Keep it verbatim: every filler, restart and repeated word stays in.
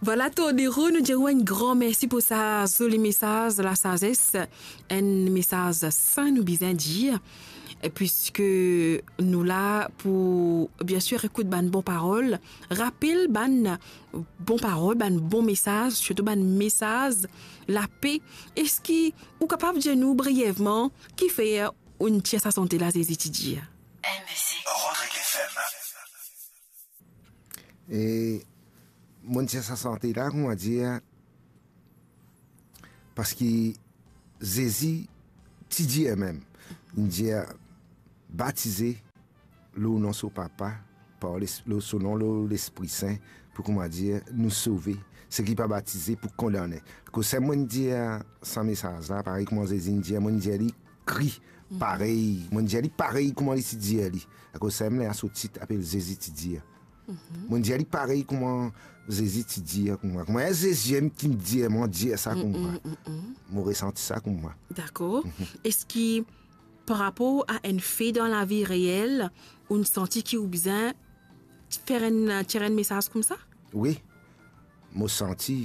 Vwala, Tordero, nou dir ou enn gran mersi pou sa zoli mesaz lasazes, enn mesaz sin, nou bizin dir, e piske nou la pou, biensir, ekout bann bon parol, rapel bann bon parol, bann bon mesaz, sirtou bann mesaz lape. Eski ou kapav dir nou brievman kifer ou'nn tir sa sante la Zezi ti dir? Rodrigue F M. E mo'nn tir sa sante la, kouma dir, parski Zezi ti dir mem, li dir, batize lor nom so Papa, par les-, lor so nom, lor Lespri Sin, pou, kouma dir, nou sove. Seki pa batize pou kondane. Kouma mo'nn dir sa mesaz la, parey kouma Zezi inn dir, mo'nn dir li kri parey. Mo'nn dir li parey kouma li ti dir li. Akoz samem la so tit apel Zezi ti dir. Mo'nn dir li parey kouma Zezi ti dir kouma. Kouma enn Zezi mem ki'nn dir mwa, dir sa kouma. Mo resanti sa kouma. Dakor. Eski par rapor a enn fe dan lavi reel, ou'nn santi ki ou bizin fer enn, tir enn mesaz koumsa? Wi. Mo santi